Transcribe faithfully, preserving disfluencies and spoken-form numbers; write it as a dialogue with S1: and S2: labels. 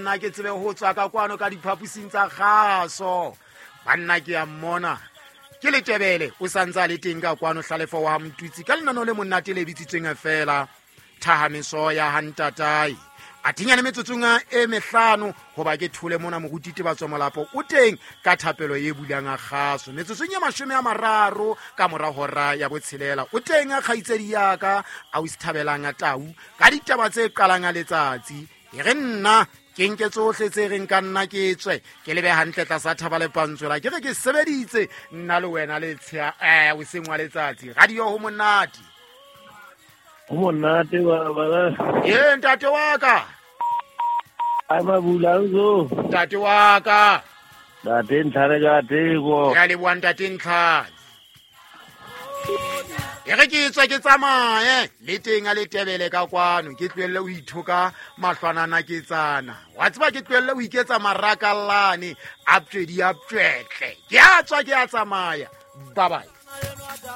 S1: nna ke tsebe ho tswa ka kwano ka diphaposing tsa kgaso. Banna ke a mmona ke Letebele o santse a le teng ka kwano Hlalefo wa Motutsi ka lenaneo le monate le bitsitsweng feela Thahameso ya Hantatae. A thinyane metsotsong e mehlano hoba ke thole mona moruti Tebatso Molapo o teng ka thapelo e bulang a kgaso. Metsotsong ya mashome a mararo ka mora hora ya botshelela o teng a kgaitsedi ya ka a o thabelang a tau ka ditaba tse qalang a letsatsi. E re nna ke nke tsohle tse reng ka nna ke tswe ke lebe hantle tlasa thaba le pantswela ke re ke sebeditse nna le wena le tshea eh o seng wa letsatsi. Radio ho monate.
S2: Ho monate baba.
S1: Ee ntate wa ka.
S2: Ai mabula zo.
S1: Ntate wa ka.
S2: Ntate Ntlhare ka teko.
S1: Ke a leboha ntate Ntlhare. E re ke tswe ke tsamaye le teng a Letebele ka kwano ke tlohelle ho ithoka mahlwanana ke tsana. Wa tseba ke tlohelle ho iketsa marakallane a ptswedi a ptswetle. Ke a tswa ke a tsamaya. Bye bye.